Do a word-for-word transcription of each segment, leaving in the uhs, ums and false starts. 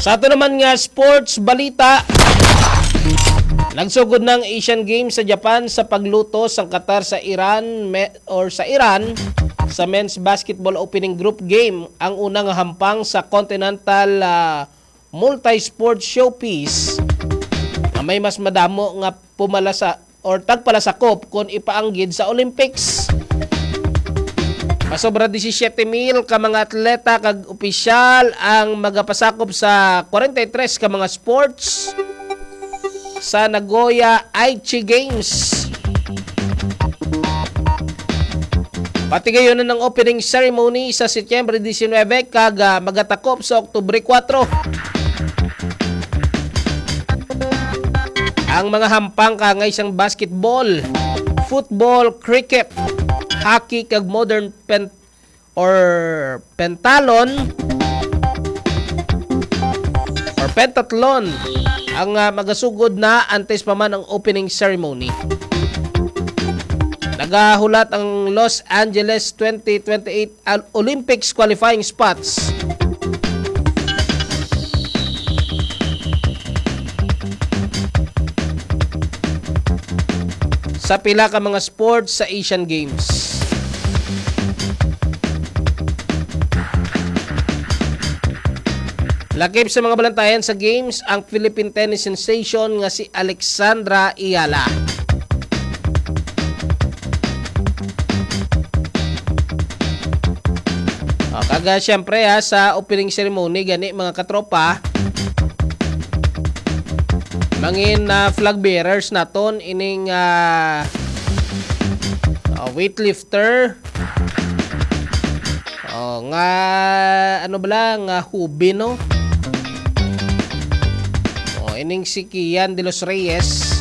Ato naman nga sports balita. Nagsugod na ang Asian Games sa Japan sa pagluto sang Qatar sa Iran me-, or sa Iran sa men's basketball opening group game, ang una nga hampang sa Continental, ah, Multi-Sport Showpiece nga may mas madamo nga pumala sa or tagpalasakop kon ipaanggid sa Olympics. Masobra disisiete mil ka mga atleta kag opisyal ang magapasakop sa kwarenta y tres ka mga sports sa Nagoya Aichi Games. Patigayon ang opening ceremony sa Setyembre diecinuebe kag, ah, magatakop sa Oktubre kuwatro. Ang mga hampang kaangay sang basketball, football, cricket, hockey, kag modern pen-, or pentalon, or pentathlon ang, ah, magasugod na antes pa man ang opening ceremony. Nagahulat ang Los Angeles twenty twenty-eight Al-, Olympics qualifying spots sa pila ka mga sports sa Asian Games. Lakip sa mga balantayan sa Games ang Philippine tennis sensation nga si Alexandra Ayala. O, kaga, siyempre, ha, sa opening ceremony gani, mga katropa, mangin, ah, flag bearers naton ining, ah, ah, weightlifter. Oh, nga, ano bala, nga Hubin, no? Oh, ining si Kian de los Reyes.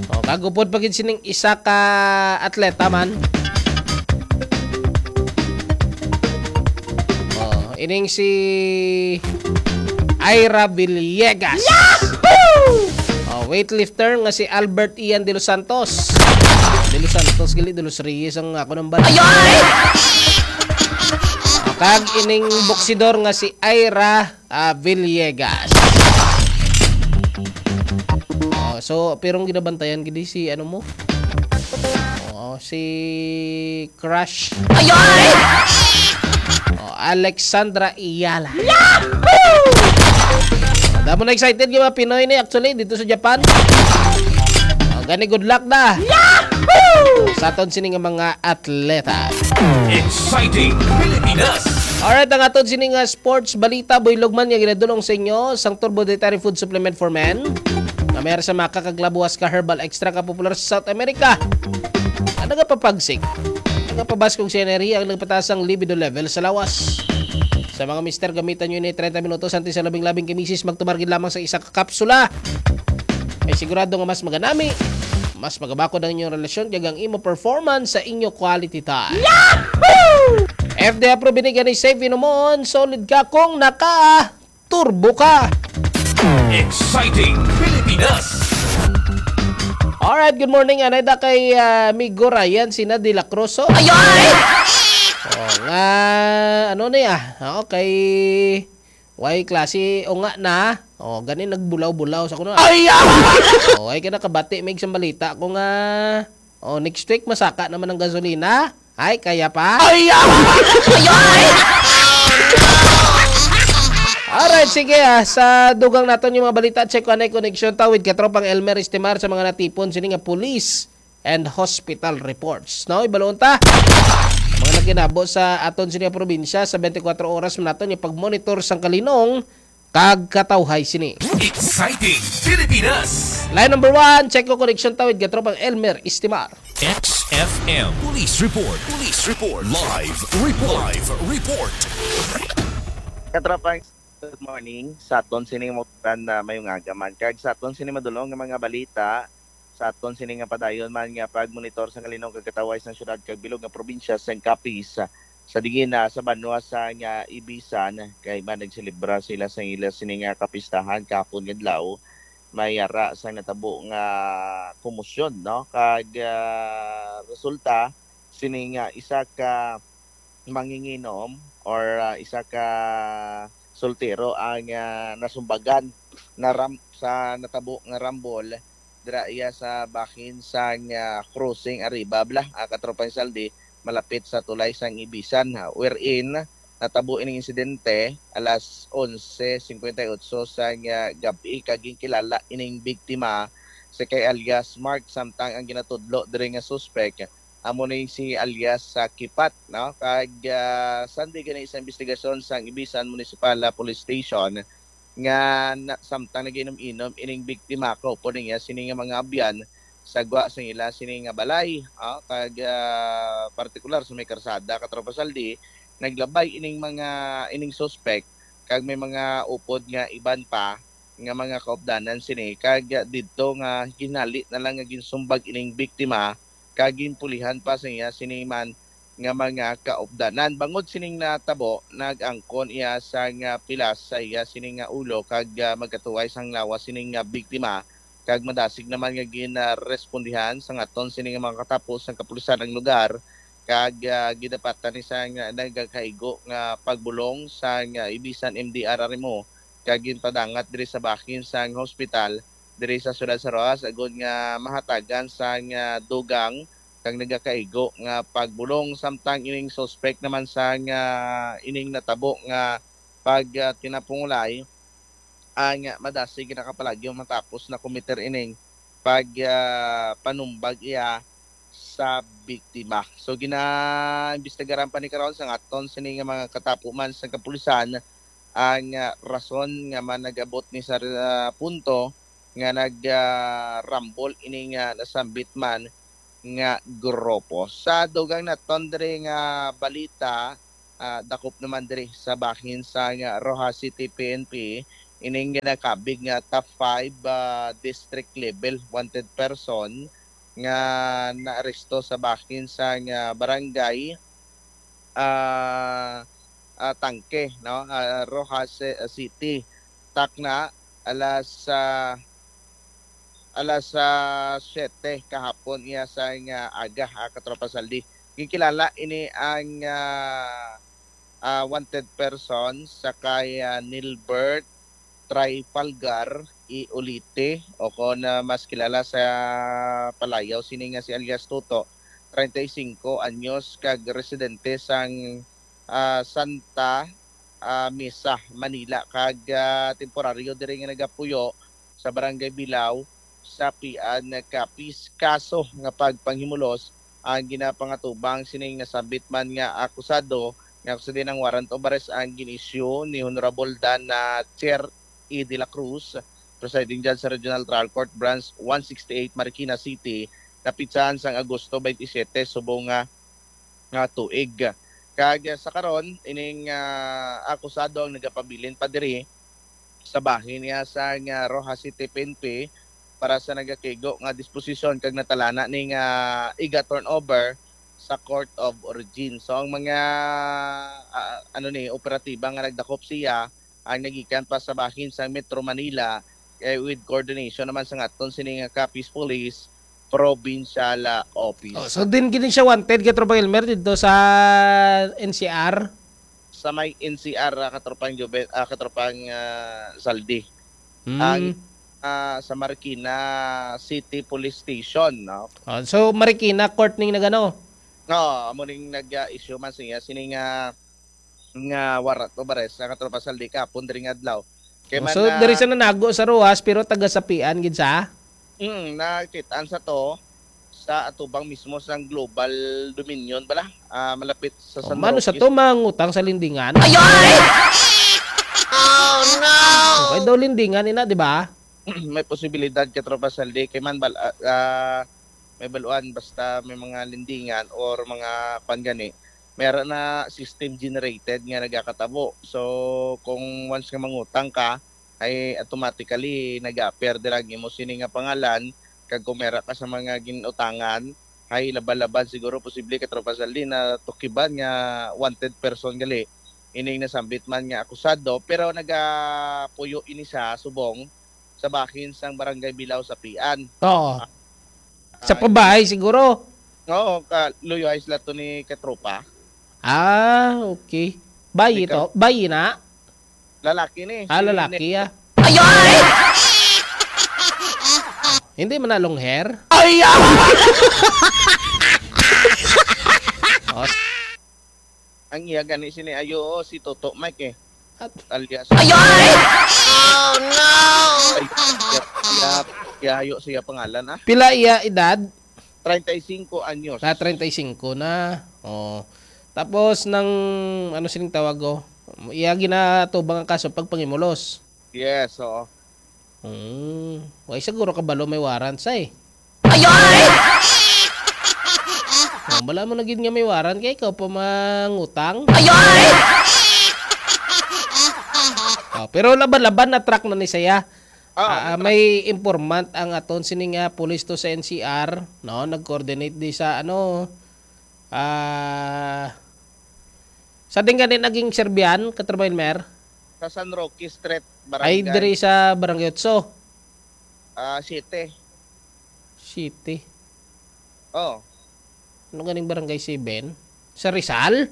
Oh, kag upod pa gid sining isa ka atleta man. Oh, ining si Ira Villegas. Yahoo! Oh, weightlifter nga si Albert Ian De Los Santos. De Los Santos, gali, De Los Reyes ang ako nang bala. Ayoy! Kag ining boksidor nga si Ira, ah, Villegas. Oh, so, pero ang ginabantayan gid si, ano mo? Oh, si Crush. Ayoy! Oh, Alexandra Ayala. Yahoo! Damo na excited nga mga Pinoy ni actually dito sa Japan. Oh, gani, good luck na. Yahoo! Sa aton sini nga mga atleta. Exciting Pilipinas. Alright, ang aton sini nga sports balita, buylog man nga ginadulong sa inyo sang Turbo Dietary Food Supplement for Men. Nga may sa maka kag labuas ka herbal extract nga popular sa South America. Ang nagapapagsik, nagapabaskog sa enerhiya, ang nagpataas ang libido level sa lawas. Sa mga mister, gamitan nyo ini treinta minutos antes sa labing-labing kay misis, magtumar gid lamang sa isa ka kapsula. Ay sigurado nga mas maganami, mas magabakod ang inyong relasyon, kag ang imo performance sa inyo quality time. Yahoo! F D A approved ini, gani safe inumon, solid ka kung naka turbo ka. Exciting Pilipinas. Alright, good morning. Anay da kay, ah, Migo Ryan, sina De La Cruz, oh. Ayoy! Oh, nga, ano na ya? Oh, kay, way klase, o nga na. Oh, gani nagbulaw-bulaw sa kuno. Ay, ah! Oh, ay ka nakabati, may isang balita ko nga, oh, next week, masaka naman ang gasolina. Ay, kaya pa? Ay, ah! Alright, sige, ah. Sa dugang naton yung mga balita, check ko anay connection ta with katropang Elmer Estimar sa mga natipon sini nga police and hospital reports. No, ibalon ta. Mga nagkinabo sa aton sini nga probinsya sa twenty-four oras man naton yung pag-monitor sang kalinong kag katawhay sini. Exciting Pilipinas. Line number one, check ko connection ta with katropang Elmer Estimar. X F M Police Report. Police Report. Live report. Live report. Katropang, good morning. Sa aton sining mautan na mayong aga man. Kag sa aton sining madulong nga mga balita, sa aton sini nga padayon man nga pagmonitor sa kalinong kag katawhay sang syudad kag bilog nga probinsya sang Capiz. Sa diin na sa banwa sa nga Ibisan, kay man nagselebra sila sa ila sini nga kapistahan kahapon nga adlaw. may ara sa natabo nga komosyon, no? Kag, ah, resulta, sini nga isa ka manginginom or, ah, isa ka soltero ang, ah, nasumbagan na ram-, sa natabo nga rambol dira iya sa bahin sang, ah, crossing Arriba, bala, ah, Katropang Saldi, malapit sa tulay sang Ibisan, ha, wherein natabo ining insidente alas onse cincuenta y ocho sang, ah, gab-i, kag ginkilala ining biktima sa kay alias Mark, samtang ang ginatudlo diri nga suspek amo ni si alias sa Kipat, no? Kag, ah, sandi gani sa investigasyon sang Ibisan Municipal, ah, Police Station, nga na, samtang nag-inom-inom ining biktima, kaupod niya sini nga mga abyan sa gwa sang ila sini nga balay, ah, kag, ah, partikular sa may karsada, Katropa Saldi, naglabay ining mga, ining suspek, kag may mga upod nga iban pa nga mga kaupdanan sini, kag, ah, didto nga ginhali na lang nga ginsumbag ining biktima, kag ginpulihan pa sa iya sini man nga mga kaupdanan. Bangod sining natabo, nag-angkon iya sang, ah, pilas sa iya sini nga ulo, kag, ah, magkatuway sang lawas sini nga biktima, kag madasig naman nga ginarespondihan sang aton sini nga mga katapo sang kapulisan ang lugar, kag, ah, gidapatan ni sang, ah, nagakaigo nga pagbulong sang, ah, Ibisan M D R R M O, kag ginpadangat diri sa bahin sang hospital diri sa siyudad sa Roxas, agod nga mahatagan sang, ah, dugang kag nagakaigo nga pagbulong, samtang ining suspek naman sang, ah, ining natabo nga pag, ah, tinapungulay ang, ah, madasig nga nakapalagyo matapos na-commit ining pag, ah, panumbag iya sa biktima. So, ginaimbestigaran pa ni karon sang aton sini nga mga katapo man sa kapulisan ang, ah, rason nga man nag-abot ni sa, ah, punto nga nag, ah, rambol ini nga nasambit man nga grupo. Sa dugang naton diri nga balita, ah, dakop naman diri sa bahin sa nga Roxas City P N P, ining ginakabig nga top five, ah, district level wanted person nga naaresto sa bahin sa nga barangay, ah, ah, Tangke, no? Ah, Roxas, eh, City. Takna, alas, ah, alas, ah, siyete kahapon iya sa nga aga, ah, Katropa Saldi. Ginkilala ini ang, ah, ah, wanted person sa kay, ah, Nilbert Trifalgar Iolite, o kon, ah, mas kilala sa palayaw sini nga si alias Toto, treinta y cinco anyos, kag residente sang, ah, Santa, ah, Mesa, Manila, kag, ah, temporaryo diri nga nagapuyo sa Barangay Bilao, sa Pian, Capiz. Kaso nga pagpanghimulos ang ginapangatubang sining nasambit man nga akusado, nga kung sa din ang warrant of arrest ang gin-issue ni Honorable Dan, ah, Chair E. De La Cruz, Presiding Judge sa Regional Trial Court Branch one sixty-eight, Marikina City, napitsahan sang Agosto twenty-seven, subong nga, nga tuig. Kag, ah, sa karon, ining, ah, akusado ang nagapabilin pa diri sa bahin niya sa nga Roxas City P N P para sa nagakigo nga disposisyon, kag natalana ni nga iga-turnover sa Court of Origin. So, ang mga, ah, ano ni, operatiba nga nagdakop siya ang nagikan pa sa bahin sa Metro Manila, eh, with coordination naman sa aton sini nga Capiz Police Provincial, ah, Office. Oh, so din gini siya wanted, Katropang Elmer, dito sa N C R? Sa may N C R, ah, Katropang Jube-, ah, Katropang, ah, Saldi. Hmm. Ang, ah, sa Marikina City Police Station, no? Oh, so, Marikina Court ning nagano? Oo, amo ning nag-, ah, issue man siya sini nga, nga warrant of arrest sa Katropang Saldi kapon diri nga adlaw. Kay man So, na diri sa nanago sa Roxas, pero taga Sapian gid sa? Mm, nakit-an sa to sa atubang mismo sang Global Dominion bala, ah, malapit sa Oh, San mano sa Roque. To mangutang sa lendingan? Ay, ay! Oh, no! Okay daw lendingan ina, di ba? May posibilidad, Katropang Saldi, kay man bal-, ah, ah, may baluan basta may mga lendingan or mga kwan gani, may ara na system generated nga nagakatabo. So, kung once nga mangutang ka, ay automatically nag-a-appear dira ang imo sini nga pangalan, kag kung may ara ka sa mga ginutangan, ay laban-laban siguro posible, Katropang Saldi, na tukiban nga wanted person gali ining nasambit man nga akusado, pero nagapuyo ini siya subong sa bahin sang Barangay Bilao sa Pian. Oo. Ah, sa pabahay siguro? Oo, ka, luyo ay sila to ni katropa. Ah, okay. Bayi Ikaw? to? Bayi na? Lalaki ni. Ah, Si lalaki, Nick. ah. Ay, ay! Hindi man na long hair? Ay, ah! Oh, s- Ang iya gani sini ayo, oh, si Toto Mike, eh. At Alias. Ay, ay! Oh, no! Ay, iya, iya, iya, ayo siya pangalan, ah. Pila iya edad? Treinta y cinco anyos. Ah, treinta y cinco na. Oh. Tapos nang, ano sining tawag, oh? Iya ginatubang ang kaso pagpangimulos. Yes, oo. Hmm. Way siguro kabalo may warrant sa, eh. Ay, ay! Oh, bala mo na gid nga may warrant kay ikaw pa mangutang. Ay, ay! Oh, pero laban-laban na track na ni saya. Ah, Ah, ah, may informant ang aton sini nga pulis to sa N C R, no? Nag-coordinate di sa, ano, ah, sa din gani naging Serbian, Katropa Elmer? Sa San Roque Street, Ay, Barangay, diri sa Barangay Otso. ah, Siete. City. Oh. Ano ganing Barangay Seven? Sa Rizal?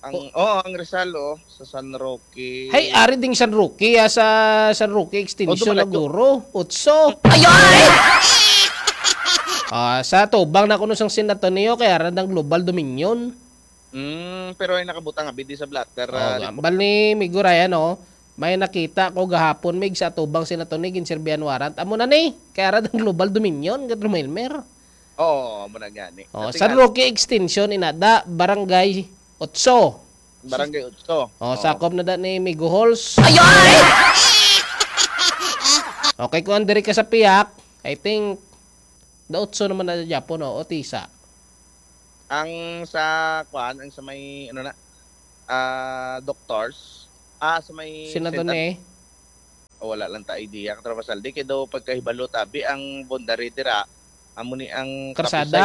Ang, O- oh, ang Rizal, oh, sa San Roque. Hay, ari ding San Roque, ah, sa San Roque Oh, Extension dumalayo. Naguro, Otso. Ay, ay! Ah, sa tubang na kuno sang San Antonio, kay ara dang Global Dominion. Mm, pero ay nakabutang abi di sa blotter, Oh, ah, report. Ambal ni Migo Ryan, oh. May nakita ko gahapon, Mig, sa tubang San Antonio, ginserbihan warrant. Amo na ni, kay ara dang Global Dominion, Katropa Elmer. Oo, amo na gani. Oh, Dati San nga, Roque Extension, inada, Barangay Otso. Barangay Otso. Oh, Oo. Sakop na da ni Migo Halls. Ay, ay! Okay, kung andiri ka sa Piak, I think, the Otso naman na Japon, no? O Tisa. Ang sa, kuan, ang sa may, ano na, ah, doctors, ah, sa may Senador Senad-, ni? Oh, wala lang ta idea, Katropa Saldi, kay daw pagkahibalo tabi ang boundary dira, amo ni ang Kapisay. Karsada?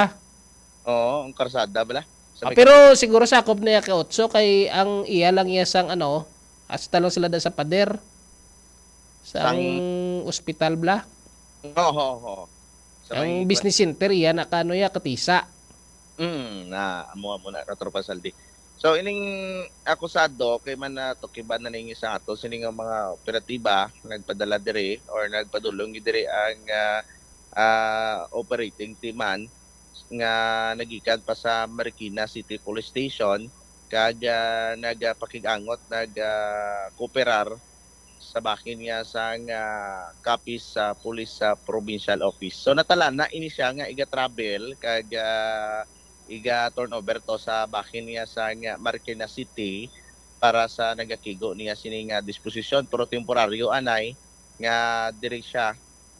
Oo, ang karsada bala. Sa Ah, may pero Kapisay. Siguro sakop niya ka Otso kay ang iya lang iya sang ano, hasta lang sila da sa pader. Sang Sang ospital bala. Oo, oo, oo. Sa Ang may business center iya na kano iya katisa. Mm, na amo, amo na, Katropa Saldi. So, ining akusado kay man natukiban na ning isa ato sini nga mga operatiba nagpadala diri or nagpadulong diri ang, ah, ah, operating team man nga nagikan pa sa Marikina City Police Station kag, ah, nagapakig-angot, nag, ah, kooperar sa bahin niya sang, ah, Capiz, ah, Police, ah, Provincial Office. So, natalana ini siya nga iga-travel kag, ah, iga-turnover to sa bahin niya sang Marikina City para sa nagakigo niya sini nga disposisyon, pero temporaryo anay nga diri siya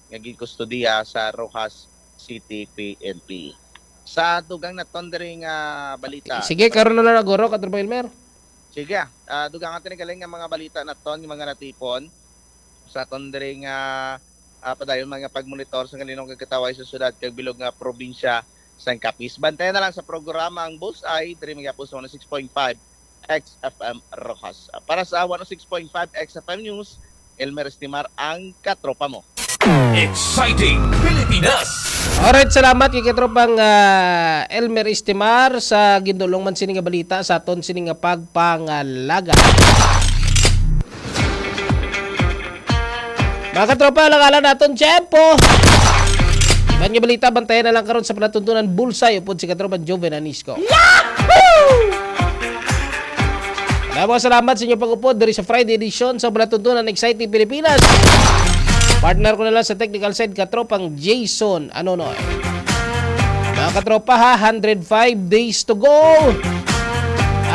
nga ginkustodiya sa Roxas City P N P. Sa dugang naton diri nga balita, Sige, karon na lang, Guro, Katropa Elmer. Sige, ah, dugang aton ni galing nga mga balita naton, nga mga natipon sa aton diri nga, ah, padayon mga pagmonitor sa kalinong kagkataway sa syudad kag bilog nga probinsya sang Capiz. Bantayan na lang sa programa ang Bullseye, diri magyapon sa one oh six point five X F M Roxas. Para sa one oh six point five X F M News, Elmer Estimar ang katropa mo. Exciting Pilipinas! Alright, salamat kay katropang, ah, Elmer Estimar sa gindulong man sini nga balita sa aton sini nga pagpangalaga. Mga katropa, alang-alang naton tiyempo. Iban nga balita, bantayan na lang karon sa palatuntunan Bullseye upod si katropang Joven Anisco. Yahoo! Damo salamat sa inyo pag-upod diri sa Friday edition sa Palatuntunan Exciting Pilipinas. Partner ko na lang sa technical side, katropang Jason Anonoy. Mga katropa ha, hundred five days to go.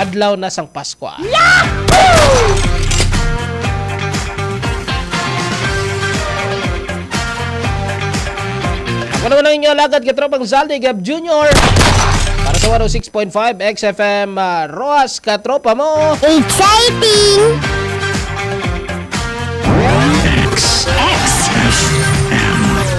Adlaw na sang Pasko. Yahoo! Ako naman ang inyo alagad, katropang Zaldi Gab Junior. Para sa one oh six point five X F M, ah, Roxas, katropa mo. Exciting! X. X.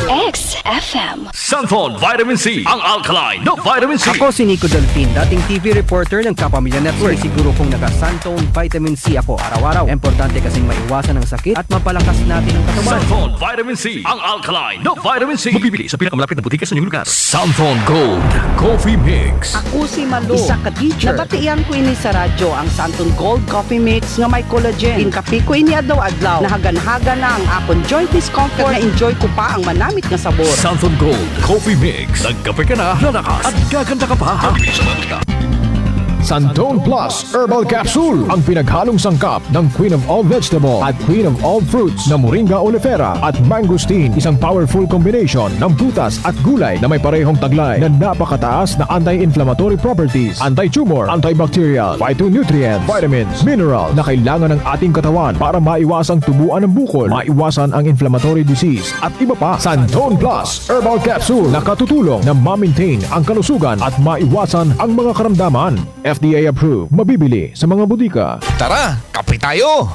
X. F M. Santon Vitamin C, ang alkaline na vitamin C. Ako si Nico Delfin, dating T V reporter ng Kapamilya Network. Siguro kung naka-Santon Vitamin C ako araw-araw. Importante kasing maiwasan ang sakit at mapalakas natin ang katawan. Santon Vitamin C, ang alkaline na vitamin C. Mabibili sa pinakamalapit na butika sa inyong lugar. Santon Gold Coffee Mix. Ako si Malu, isa ka teacher. Nabatian ko ini sa radyo, ang Santon Gold Coffee Mix nga may collagen. Ginkape ko ini adlaw-adlaw. Nahagan-hagan na ang akon joint discomfort. Na-enjoy ko pa ang manamit nga sabor. Santon Gold Coffee Mix. Nagkape ka na, lalakas, at gaganda ka pa. Santon Plus Herbal Capsule, ang pinaghalong sangkap ng Queen of All Vegetable at Queen of All Fruits na Moringa oleifera at mangosteen, isang powerful combination ng prutas at gulay na may parehong taglay na napakataas na anti-inflammatory properties, anti-tumor, antibacterial, phytonutrients, vitamins, mineral na kailangan ng ating katawan para maiwasang tubuan ng bukol, maiwasan ang inflammatory disease, at iba pa. Santon Plus Herbal Capsule nakatutulong na ma-maintain ang kalusugan at maiwasan ang mga karamdaman. F D A approved, mabibili sa mga botika. Tara, kape tayo!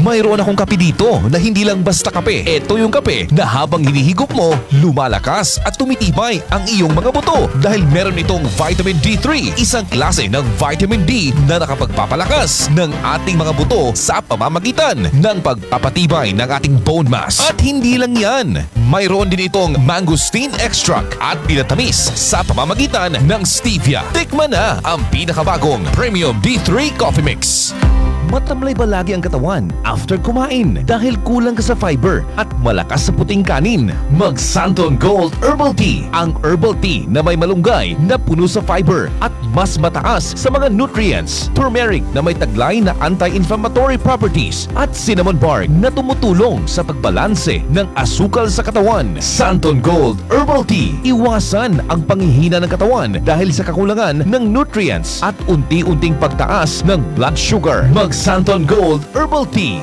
Mayroon akong kape dito na hindi lang basta kape. Ito yung kape na habang hinihigop mo, lumalakas at tumitibay ang iyong mga buto dahil meron itong vitamin D three, isang klase ng vitamin D na nakapagpapalakas ng ating mga buto sa pamamagitan ng pagpapatibay ng ating bone mass. At hindi lang yan, mayroon din itong mangosteen extract at pinatamis sa pamamagitan ng stevia. Tikman na ang pinakabagong Premium D three Coffee Mix. Matamlay ba lagi ang katawan after kumain dahil kulang ka sa fiber at malakas sa puting kanin? Mag Santon Gold Herbal Tea, ang herbal tea na may malunggay na puno sa fiber at mas mataas sa mga nutrients, turmeric na may taglay na anti-inflammatory properties, at cinnamon bark na tumutulong sa pagbalanse ng asukal sa katawan. Santon Gold Herbal Tea. Iwasan ang panghihina ng katawan dahil sa kakulangan ng nutrients at unti-unting pagtaas ng blood sugar. Mag Santon Gold Herbal Tea.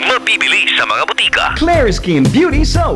Mabibili sa mga butika. Clariskin Beauty Soap.